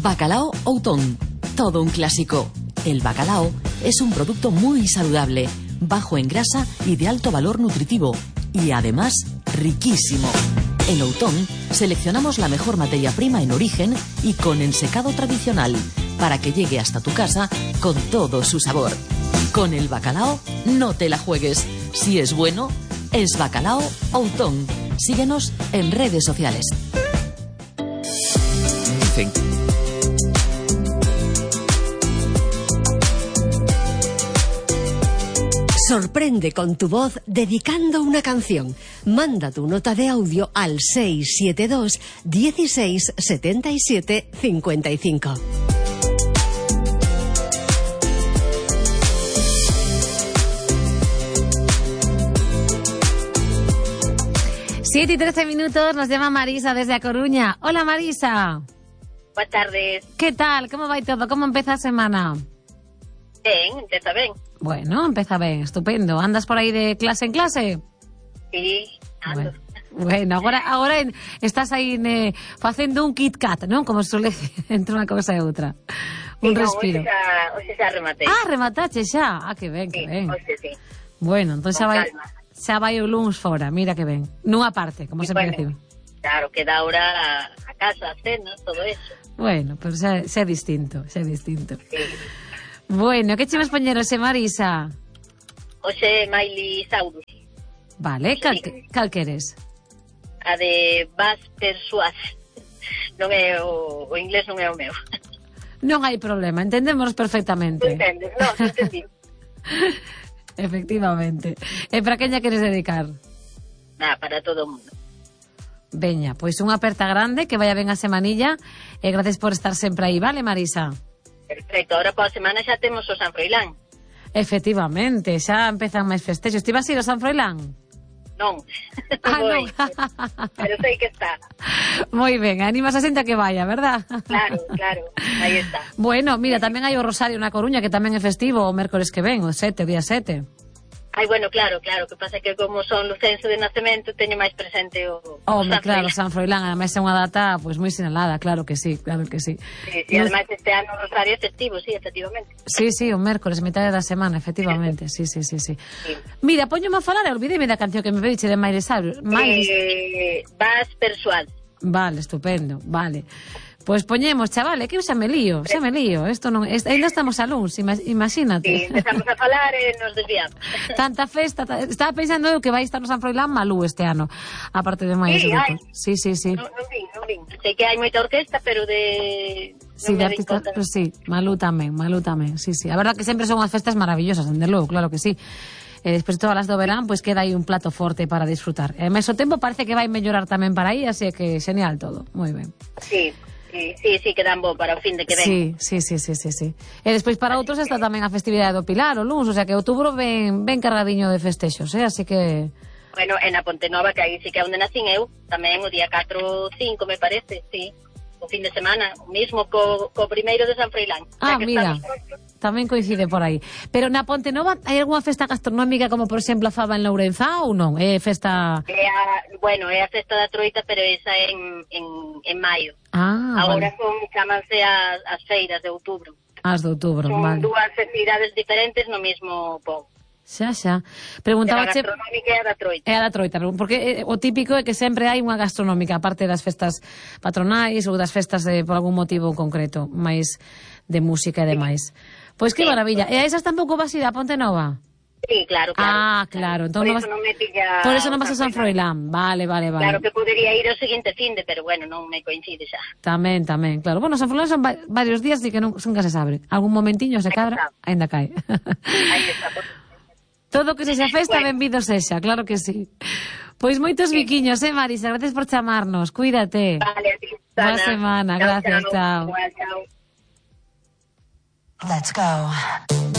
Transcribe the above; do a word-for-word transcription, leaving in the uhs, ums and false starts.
Bacalao Outón, todo un clásico. El bacalao es un producto muy saludable, bajo en grasa y de alto valor nutritivo, y además riquísimo. En Outón seleccionamos la mejor materia prima en origen y con ensecado tradicional, para que llegue hasta tu casa con todo su sabor. Con el bacalao no te la juegues. Si es bueno, es Bacalao Outón. Síguenos en redes sociales. Dicen. Sorprende con tu voz dedicando una canción. Manda tu nota de audio al seis siete dos, dieciséis, setenta y siete, cincuenta y cinco. siete y trece minutos, nos llama Marisa desde A Coruña. Hola, Marisa. Buenas tardes. ¿Qué tal? ¿Cómo va todo? ¿Cómo empieza a semana? Ben, empeza ben. Bueno, empeza ben, estupendo. Andas por aí de clase en clase? Sí, ando. Bueno, bueno agora, agora en, estás aí ne, facendo un Kit Kat, non? Como suele entre unha cousa e outra. Un sí, respiro. No, hoxe xa, hoxe xa rematei. Ah, rematache xa. Ah, que ben, que sí, ben. Hoxe sí. Bueno, entón xa vai, calma. xa vai o luns fora, mira que ben. Nunha parte, como Sí, sempre bueno, decimos. Claro, queda ahora a, a casa, a cena, todo eso. Bueno, pero xa, xa é distinto, xa é distinto. Sí. Bueno, que chemos poñerose, Marisa? Hoxe Miley Cyrus. Vale, cal, Sí. cal queres? A de Bas Persuas. Non é o, o inglés non é o meu. Non hai problema, entendemos perfectamente. Non entendes? Non, non entendi. Efectivamente. E para quen lla queres dedicar? Nada, para todo o mundo. Veña, pois unha aperta grande, que vaya ben a semanilla, e gracias por estar sempre aí, vale, Marisa? Perfecto, ahora pola semana xa temos o San Froilán. Efectivamente, xa empezan máis festexos. Ti vas ir ao San Froilán? Non. Ah, Voy. non. Pero sei que está. Moi ben, animas a xente a que vaya, verdad? Claro, claro, aí está. Bueno, mira, tamén hai o Rosario na Coruña, que tamén é festivo o mércores que ven, o sete, o día sete. Ai, bueno, claro, claro, que pasa que como son lucense de nacemento teño máis presente o, o Home, San claro, Froilán. San Froilán, ademais é unha data pois moi sinalada, claro que sí, claro que sí. Sí, sí, ademais este ano o Rosario é festivo, sí, efectivamente. Sí, sí, o mércores, metade da semana, efectivamente, sí, sí, sí, sí. Sí. Mira, poñome a falar e olvideme da canción que me pediche de Miley Cyrus. Miley... Eh, Bas Persuas. Vale, estupendo, vale. Pois poñemos, chavale, que eu xa me lío, xa me lío. Isto non, est, ainda estamos a luns, ima, imagínate. Sí, empezamos a falar e nos desviamos. Tanta festa, ta, estaba pensando eu que vai estar no San Froilán Malú este ano, aparte de máis. Sí, hai. Sí, sí, sí. Non, non vin, non vin. Sei que hai moita orquesta, pero de... Sí, de artistas, pues sí, Malú tamén, Malú tamén, sí, sí. A verdad que sempre son unhas festas maravillosas, dende logo, claro que sí. E despois de todas as do verán, pois queda aí un plato forte para disfrutar. E ao mesmo tempo parece que vai mellorar tamén para aí, así que genial todo, moi ben. Sí. Sí, sí, sí, quedan bo para o fin de que ven. Sí, sí, sí, sí, sí, sí. E despois para outros está tamén a festividade do Pilar, o luns, o sea que outubro ven, ven cargadiño de festexos, eh? Así que... Bueno, en a Ponte Nova, que aí sí que é onde nacín eu, tamén o día catro ou cinco, me parece, sí. O fin de semana, o mismo co, co primeiro de San Froilán. Ah, mira, tamén coincide por aí. Pero na Ponte Nova hai algunha festa gastronómica como, por exemplo, a faba en Lourenzá ou non? É festa... É a, bueno, é a festa da Troita, pero esa en, en, en maio. Ah, Agora vale. son, chamanse as, as feiras de outubro. As de outubro, Son vale. dúas festividades diferentes no mesmo pobo. Xa, xa. Pero a Preguntábache... gastronómica é a da Troita. É a da Troita, porque eh, o típico é que sempre hai unha gastronómica, aparte das festas patronais ou das festas de, por algún motivo concreto, máis de música e demais. Pois que Sí. maravilla. E a esas tampouco vas ir a Ponte Nova? Sí, claro, claro. Ah, claro. Entón Por non eso vas... non me pilla... Por eso non vas a San Froilán. Vale, vale, vale. Claro que podería ir ao seguinte finde, pero bueno, non me coincide xa. Tamén, tamén, claro. Bueno, San Froilán son va varios días e que non, nunca se sabe. Algún momentiño se cadra, ainda cae. Aí está, por... Todo que sexa festa, Bueno. benvido sexa, claro que sí. Pois moitos Sí. biquiños, eh, Marisa? Gracias por chamarnos. Cuídate. Vale, a ti, Boa Susana. semana, Chao, gracias, chao. Igual, chao. Let's go.